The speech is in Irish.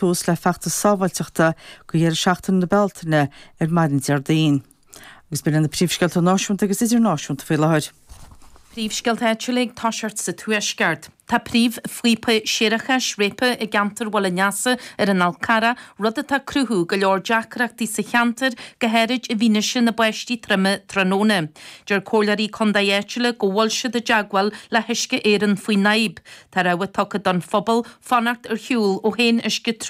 Tús le feachtas sábháilteachta go dheireadh seachtaine na Bealtaine ar maidin Déardaoin. Agus b'in iad na príomhscéalta náisiúnta agus idirnáisiúnta faoi láthair. Príomhscéalta áitiúla ag toiseacht sa Tuaisceart. Tá príomhphíopa séarachais réabtha i gceantar Bhaile an Easa ar an Fhál Carrach, rud atá ag cruthú go leor deacrachtaí sa cheantar, go háirid i bhfianaise na báistí troime tráthnóna. Deir comhairleoirí contae áitiúla go bhfuil siad i dteagmháil le hUisce Éireann faoin fhadhb. Tá rabhadh tugtha don phobal fanacht ar shiúl ó haon uisce truaillithe.